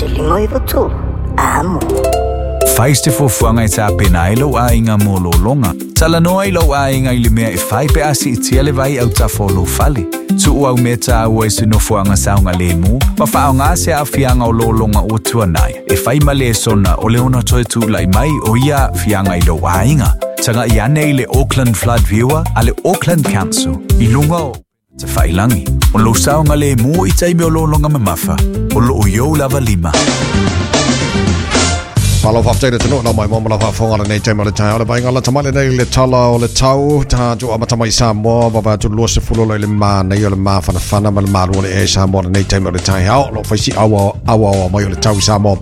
1 5 93. Amo. Fai se fuafuaga e tapena ai lou aiga mo lologa. Talanoa i lou aiga i le mea e fai pe a siitia le vai autafa o lou fale. Tuu au mea tāua i se nofoaga saogalēmū ma faaaogā se aafiaga o lologa ua tuanai e fai ma lesona o le ono toe tula'i mai o ia aafiaga i lou aiga. Taga'i ane i le Auckland Flood Viewer a le Auckland Council i luga o tafailagi. O lou saogalēmū i taimi o lologa mamafa, o loo i ou lava lima. Malo faafetai le atunuu nau mai mo ma lau faafofoga lenei taimi o le taeao le vaaiga lata mai lenei le tala o le tau tatou amata mai Samoa vavae atu 20 lo i le manaia o le mafanafana ma le malu o le ea i Samoa lenei taimi o le taeao o lo o fai si auaoa mai o le tau i Samoa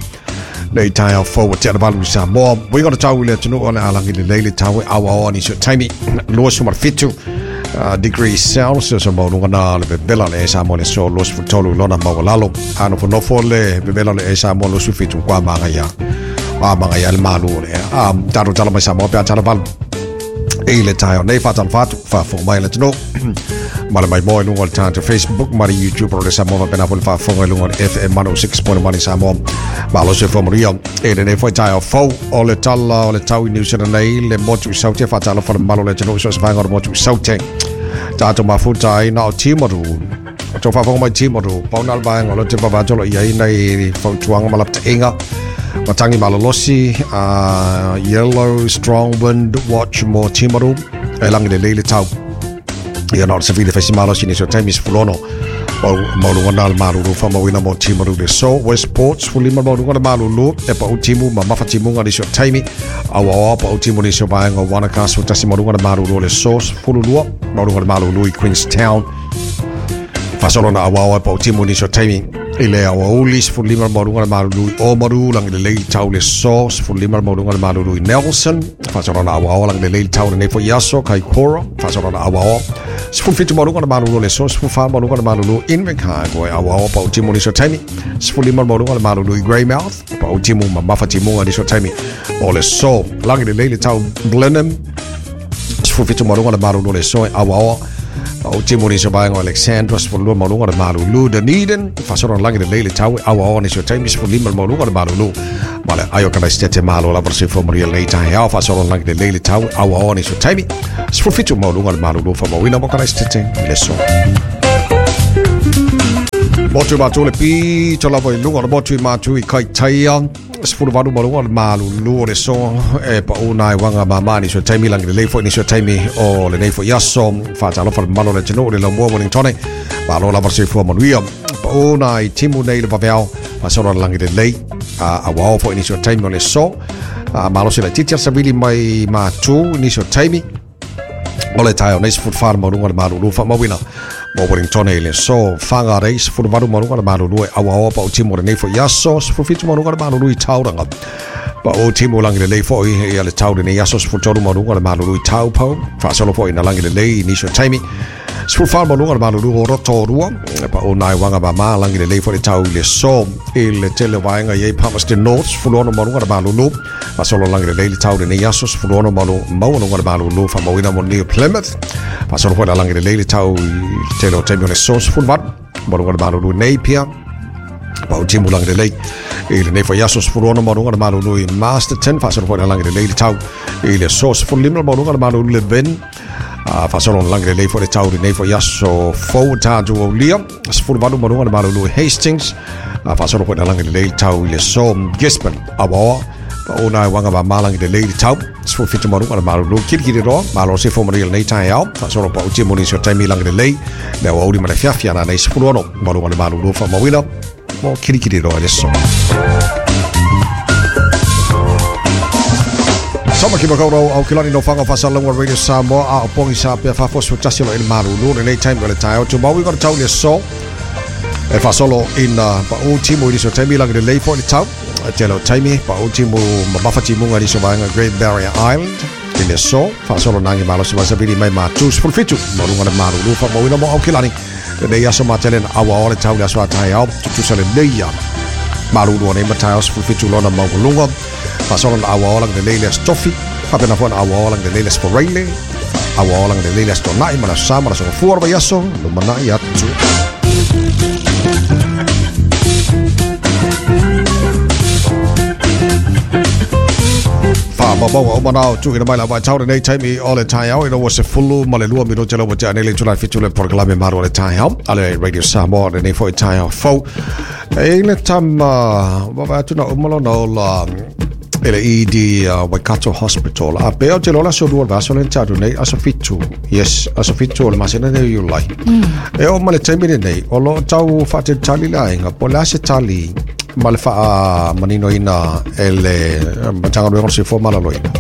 nei taeao fou ua tea le 8 i Samoa uiga o le tau i le atunuu o le alagi lelei le tau e auaoa nisi o taimi 27 degrees Celsius o maualuga na le vevela o le ea i Samoa le aso 23 lona maualalo. A nofonofo le vevela o le ea i Samoa 27 kua magaia. A magaia le malu o le ea. A tatou tala mai Samoa pe a tala 8 i le taeao nei faatalofa atu faafofoga mai le atunuu ma le maimoa i luga o le tatou Facebook ma le YouTube o le Samoa faapena foi le faafofoga i luga o le FM 106.1 i Samoa. Malo se manuia e lenei foi taeao fou o le tala o le tau i New Zealand nei le motu i Saute faatalofa le mamalu o le atunuu so o se vaega o le motu i Saute. Tatou mafuta ai na o Timaru. O tau faafofoga mai Timaru, pau na o le vaega o lo te vavato lo i ai nei fautuaga ma lapataiga. Matangi malolosi, yellow strong wind watch mo Timaru, e langi lelei le tau. Ia na o le safili faisi malosi nisi o taimi 16 maualuga na le malulu faamauina mo Timaru le so Westport 15 maualuga le malulu e pau timu ma mafa timuga nisi o taimi auaoa pau timu nisi o vaega o Wanaka 11 maualuga le malulu le so 12 maualuga le malulu i Queenstown faasolo na auaoa e pau timu nisi o taimi i le aoauli 15 maualuga le malulu i Oamaru lagi lelei le tau le so 15 maualuga le malulu i Nelson faasolo na auaoa lagi lelei le tau lenei foi aso Kaikoura faasolo na auaoa 17 maualuga le malulu le so 14 maualuga le malulu Invercargill e auaoa pau timu nisi o taimi 15 maualuga le malulu i Greymouth pau timu ma mafa timuga nisi o taimi o le so lagi lelei le tau Blenheim 17 maualuga le malulu le so e auaoa pau timu nisi o vaega o Alexandra 12 maualuga le malulu Dunedin faasolo na lagi lelei le tau e auaoa nisi o taimi 15 maualuga le malulu ma le ai o Kalaisitete malo lava le soifua manuia lenei taeao faasolo na lagi lelei le tau e auaoa nisi o taimi 17 maualuga le malulu faamauina mo Kalaisitete i le aso. Motu mātu le pito lava i luga o le motu i mātu i Kaitaia. 18 maualuga le malulu o le so e pau nai waga mama nisi o taimi lagi lelei foi nisi o taimi o lenei foi aso faatalofa le mamalu o le atunuu le laumua Wellingtone malo lava le soifua manuia pau nai timu nei le vaveao faasolo le lagi lelei auao foi nisi o taimi o le so malosi laitiiti le savili mai matu nisi o taimi o le taeao nei 14 maualuga le malulu faamauina mo Wellingtone i le aso Whangarei 18 maualuga le malulu e auaoa pau timu o lenei foi aso 17 maualuga le malulu i Tauranga pau timu lagi lelei foi ia le tau lenei aso 13 maualuga le malulu i Taupo faasolo foi na lagi lelei i nisi o taimi 14 maualuga le malulu o Rotorua pau nai waga mama lagi lelei foi le tau i le aso i le tele o vaega i ai Palmerston North 16 maualuga le malulu faasolo lagi lelei le tau lenei aso 16 maualuga le malulu faamauina mo New Plymouth faasolo foi na lagi lelei le tau i le tele o taimi o le aso 18 maualuga le malulu i Napier pau timu lagi lelei i lenei foi aso 16 maualuga le malulu i Masterton faasolo foi na lagi lelei le tau i le aso 15 maualuga le malulu i Levin faasolo na lagi lelei foi le tau i lenei foi aso fou tatou aulia 18 maualuga le malulu i Hastings faasolo foi na lagi lelei le tau i le aso Gisborne auaoa pau nai waga mama lagi lelei le tau 17 maualuga le malulu Kirikiriroa malo se fo manuia lenei taeao faasolo pau timu nisi o taimi lagi lelei le aoauli ma le afiafi ana nei 16 maualuga le malulu faamauina mo Kirikiriroa i le aso. Tāmaki Makaurau Aukilani no Whanga Whasalonga Radio Samoa a o pongi sa pea whafosu tasi lo i le malulu lenei taimi o le taeao Tumaui ko le tau i le aso e faasolo ina pau timu i nisi o taimi lagi lelei foi le tau tele o taimi pau timu mamafa timuga i nisi o vaega Great Barrier Island i le aso faasolo nagi malosi masavili mai matu 17 maualuga le malulu faamauina mo Aukilani lenei aso matele na auaoa le tau i le aso a taeao tutusa lelei ia malulu o nei mataeao 17 lona maualuga faasolo na auaoa lagi lelei le aso Tofi faapena foi na auaoa lagi lelei le aso Foraile auaoa lagi lelei le aso Tona'i ma le aso Sa ma le aso Gafua o le vaiaso lumanai atu. Faamaumauga uma na o tuuina mai la vaitau lenei taimi o le taeao ina ua 12 minute le ua tea nei le itula e 7 le polokalame Malu o le Taeao a le Radio Samoa lenei foi taeao fou. E i le tama vaavaai atu na uma lona ola e le ED Waikato Hospital. A pe o te lola aso lua o le vaiaso lea na tea atu nei, aso 7. Yes, aso 7 o le masina nei o Iulai. E oo mai le taimi lenei, o lo o tau faatalitali le aiga po o le a se tali ma le faamaninoina e le Matagaluega o le Soifua Maloloina.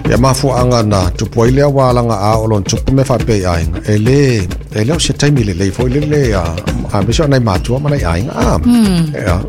Ia mafuaaga na tupu ai lea ua alaga a o lona tupu mea faapea i aiga. E le, e le o se taimi lelei foi lele a, aemaise o nai matua ma nai aiga. Ah, yeah.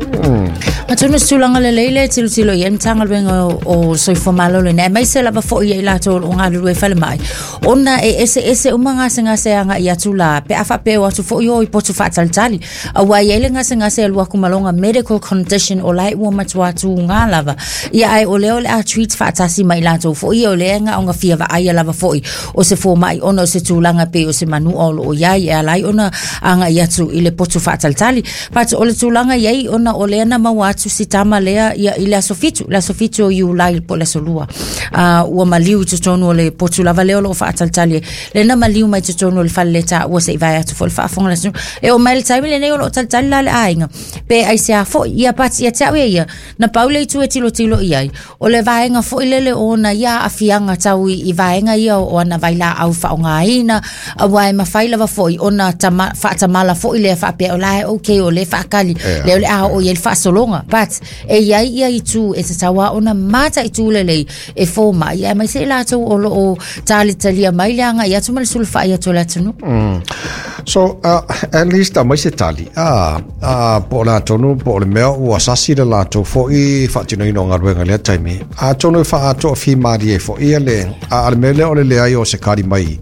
Atonu se tulaga lelei lea e tilotilo i ai le Matagaluega o Soifua Maloloina, aemaise lava foi ia i latou o lo o galulue i falemai, ona e eseese uma gasegase e agai atu la, pe a faapea e o atu foi o i potu faatalitali. Aua e i ai le gasegase e alu atu ma lona medical condition o la e ua matua tūgā lava. Ia ae o lea o le a treat faatasi ma i latou foi ia o lea e na ona fia vaaia lava foi o se fomai ona o se tulaga pei o se manua o lo o i ai e ala ai ona agai atu i le potu faatalitali. But o le tulaga i ai ona o lea na maua atu si tama lea ia i le aso 7, le aso 7 o Iulai po o le aso 2. Ua maliu i totonu o le potu lava lea o lo o faatalitali ai. Lea na maliu mai totonu o le fale taua se i vae atu foi le faafofoga a le atunuu. E oo mai le taimi lenei o lo o talitali la le aiga pe aisea foi. Ia but ia te au ia ia, na pau le itu e tilotilo i ai, o le vaega foi lele o ona ia aafiaga tau i vaega ia o ana vailaau faaaogaina, aua e mafai lava foi ona tama, faatamala foi lea faapea o la e okay o lea e faatali, lea o le a oo i ai le faasologa. But e i ai ia itu e tatau lava ona mataitu lelei e fomai, aemaise i latou o lo o talitalia mai le agai atu ma le sulufai atu o le atunuu. So, at least aumai se tali. Po o le a tonu, po o le mea ua sasi le latou foi faatinoina o galuega i lea taimi. Atonu e faaatoa fimalie ai foi ia le, a le mea lea o le leai o se kali mai,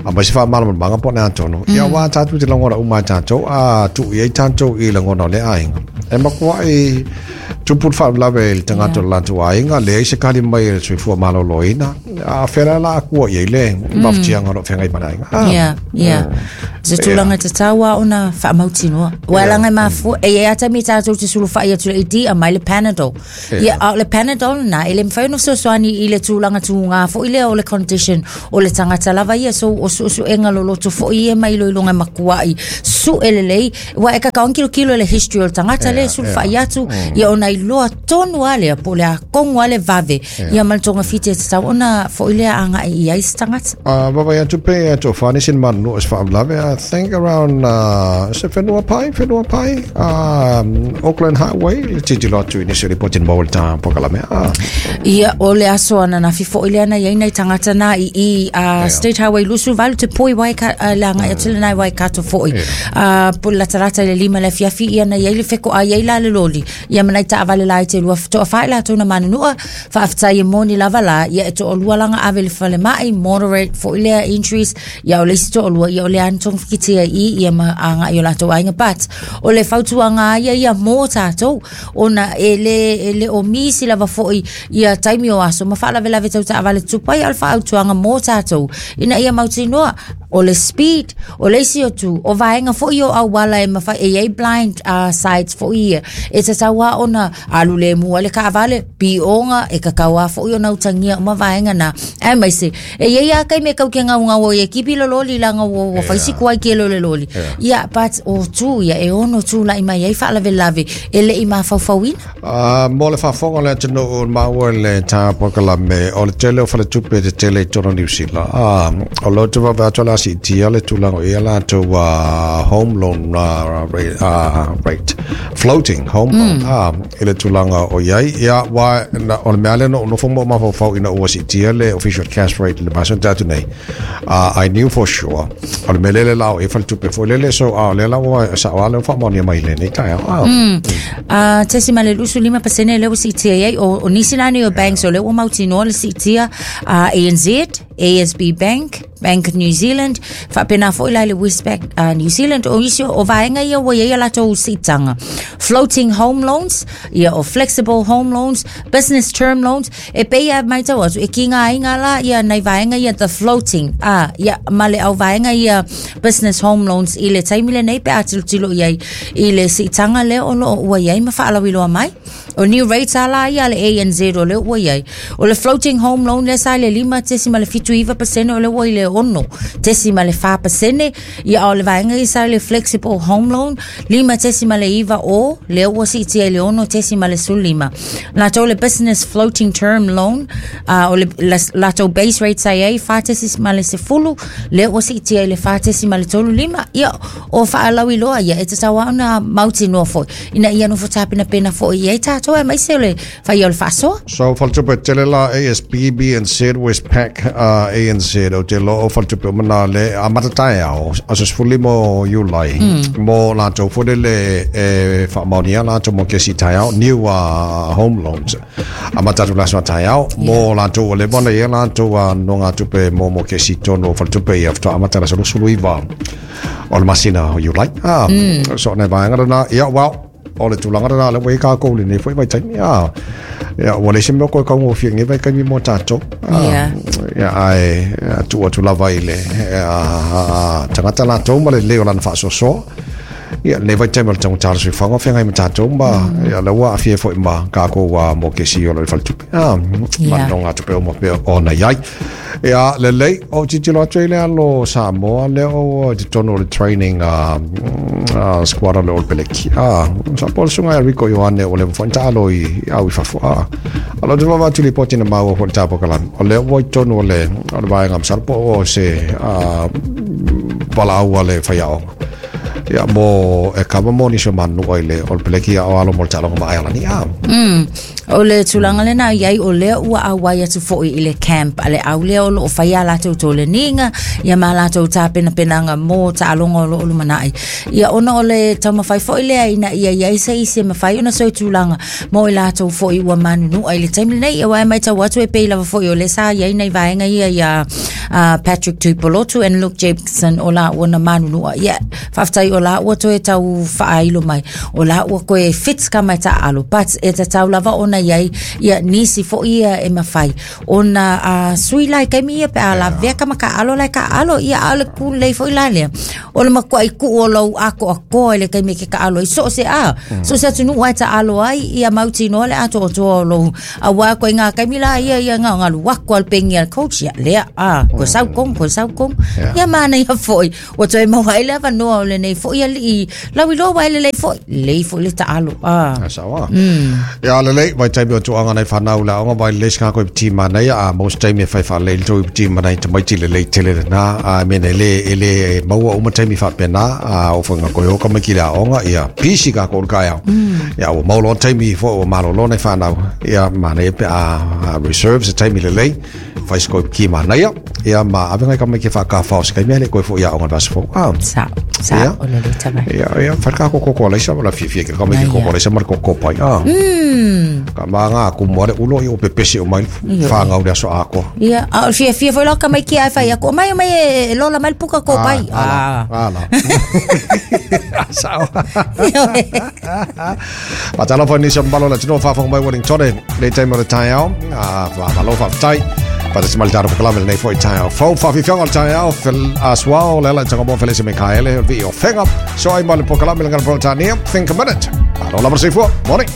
aumai se faamalamalamaga po o le a tonu. Ia aua tatou te lagona uma e tatou, a tuu i ai tatou i lagona o lea aiga. E matuai tupu le faalavelave i le tagata o le latou aiga, leai se kali mai e le soifua maloloina. A fea la la akua i ai le mafatiaga o lo o feagai ma le aiga. Yeah, yeah. Se tulaga tatau lava ona faamautinoa. Ua laga e mafua, e i ai lava taimi tatou te sulufai atu i le ED, aumai le Panadol. Ia, a o le Panadol lena, e le mafai ona fesoasoani i le tulaga tugā foi lea o le condition o le tagata lava ia. So, o suesuega loloto foi ia ma iloiloga e matuai sue lelei. Aua e tatau ona tilotilo i le history o le tagata lea e sulufai atu, ia ona iloa tonu lava lea, po o le a tonu lava le vave, ia ma le togafiti e tatau ona foi lea agai i ai se tagata. Vaavaai atu pe e tofa nisi ni manunuu o se faalavelave, I think around se whenua pai, whenua pai, Auckland Highway, le tilotilo atu i nisi o ripoti na maua i le tā polokalame. Ia, o le aso ananafi foi lea na i ai nai tagata na i i State Highway 28 te poi le agai atu lena i Waikato foi. Po latalata i le 5 le afiafi ia na i ai le fekoai ai la le loli. Ia ma nai taavale laiti e lua toafa i latou na manunua, faafetai e moni lava la, ia e toalua laga ave i le falemai, moderate foi lea injuries, ia o le isi toalua, ia o lea na togafitia i i, ia ma agai i o latou aiga. But, o le fautuaga lava ia ia mo tatou, ona e le, e le o misi lava foi ia taimi o aso ma faalavelave tau taavale tutupu ai, a o le faautuaga mo tatou, ina ia mautinoa, o le speed, o le isi atu, o vaega foi o auala e mafai, e i ai blind sides foi ia, e tatau lava ona alu lemu ai le taavale, pioga, e tatau lava foi ona utagia uma vaega na. Aemaise, e i ai lava taimi e tau te gaugau ai e kipi le loli leaga ua fai si tuai tele o le loli. Ia, but o tu ia, e ono tulai mai ai faalavelave e le i mafaufauina. Mo le faafofoga a le atunuu maua i le tā polokalame, o le tele o faletupe tetele i totonu o Niu Sila, o lo o te vaavaai atu o le a siitia le tulaga o i ai latou home loan rate, floating home loan, i le tulaga o i ai. Ia, aua o le mea lea na ou nofo ma ou mafaufau ina ua siitia le official cash rate i le masina na tea atu nei, I knew for sure o le mea lele la o e faletupe foi lele so a o lea la ua sao lava lea ua faamaonia mai i lenei taeao. 0.25% lea ua siitia i ai o nisi la nei o banks o lea ua mautinoa le siitia, ANZ, ASB Bank, Bank New Zealand, faapena foi la i le Westpac New Zealand. O isi o vaega ia ua i ai a latou siitaga floating home loans, ia o flexible home loans, business term loans. E pei e matau atu e kigaina la ia nai vaega ia the floating ia ma le au vaega ia business home loans i le taimi lenei pe a tilotilo i ai i le siitaga lea o loo ua i ai ma faalauiloa mai. O new rates a la ia a le ANZ o lea ua i ai. O le floating home loan lea sa i le 5.79% o lea ua i le 6.4%. Ia a o le vaega ia sa i le flexible home loan 5.9 o lea ua siitia i le 6.15. Latou le business floating term loan o le latou base rate sa i ai 4.10 lea ua siitia i le 4.35. Ia o faalauiloa ia e tatau lava ona mautinoa foi ina ia nofo tapenapena foi i ai tatou aemaise o le faia o le faasoa. So faletupe tele la ASB, BNZ, Westpac, ANZ o te loo faletupe o mana le amata taeao aso 15 o Iulai mo latou foi lele e faamaonia latou mo kesi taeao new home loans amata atu le aso a taeao mo latou ua leva ona i ai latou nogatupe mo kesi tonu o faletupe ia faatoa amata le aso 29 o le masina o Iulai. So nai vaega lena, ia well, o le tulaga lena lea ua i ai kākou i lenei foi vaitaimi. Ia, ua leai se mea o koe kaugofie i lenei vaitaimi mo tātou. Ia, ae tuu atu lava i le tagata latou ma le lelei o lana faasoasoa. Ia, lenei vaitaimi o le taugata o le soifuaga o feagai ma tātou ma ia, lea ua aafia ai foi ma kākou mokesi o lo o i le faletupe. Ma le nogatupe uma pea ona i ai. Ia, lelei, o tilotilo atu ai le alo o Samoa lea o i totonu o le training squad o le All Blacks. Sa po le susuga ia Rieko Ioane ua leva foi ona taalo i au i fafo. A o te vaavaai atu i lipoti na maua foi i le tapokalame, o lea ua i totonu o le vaega masalo po o se valaau a le faiaoga. Ia, mo e kava mo nisi o manunua i le All Blacks ia o alo mo le taaloga ma Aialani. O le tulaga lena i ai o lea ua auai atu foi i le camp a le au lea o loo faia a latou toleniga ia ma latou tapenapenaga mo taaloga o loo lumanai. Ia ona o le taumafai foi lea ina ia i ai se isi e mafai ona soi tulaga mo i latou foi ua manunua i le taimi lenei. Ia aua e matau atu e pei lava foi o lea sa i ai nai vaega ia ia Patrick Tuipolotu and Luke Jacobson o laua na manunua. Ia faafetai o laua toe tau faailo mai o laua koe fit ka mai taaalo but e tatau lava ona i ai ia nisi foi ia e mafai ona sui la i taimi ia pe a lavea ka makaalo la e kaalo ia a o le ku lelei foi la lea o le matuai tuu o lou atoatoa i le taimi e ke kaalo ai so o se a so o se atunuu lava e taalo ai ia mautinoa le atoatoa o lou auā koe ngā taimi la ia ia ngā ngalu ako al pengi al coach ia lea a koe sau kong koe sau kong ia manaia foi Ua toe maua ai le avanoa o lenei foi alii lauiloa ua e lelei foi, lelei foi le taalo. Ah. A sawa. Ia lelei, vaitaimi o tuaga nai whanau le aoga vai lelei sika koe piti mana ia, a most taimi e whai whalei le toi piti mana i tamaiti lelei tele le nā, a mena e le, e le maua uma taimi whapena, a o whainga koe o kamaiki le aoga, ia pisi ka koe kai au. Ia ua mau loa taimi fo ua malolo nai whanau, ia mana e pe a reserve se taimi lelei, whai se koe piti mana ia, ia ma ave ngai kamaiki e whakawhao se kaimea le koe fo ia aoga le vasa fo. Ah. Sa, sa, Ia. o le le tama. Ia, ia, whai ka koko leisa, wala fiafia ke kamaiki Ai, koko ia. leisa ma le koko pai. Ah. Ka mā ngā kumu are ulo i o pepesi o mai Io. whāngau le aso ākoa. Ia, a o le fiafia foi la tamaiti ae fai atu, omai omai e lola mai le puka ko pai. Ah, ala. Sao. Whātalofa nisi o mbalo la tino whāwhanga mai Wellington le taimi o le taeao. Ah, whāmalo whāwhatai. Whātasi mai le tāro whakalame lenei foi taeao. Fau whawhiwhianga o le taeao, fel aswao, le ala i tanga mo Felese Mikaele, o le vii o Whenga. So ai mai le pokalame le ngana Brotania, think a minute. Alo lava le seifua, morning.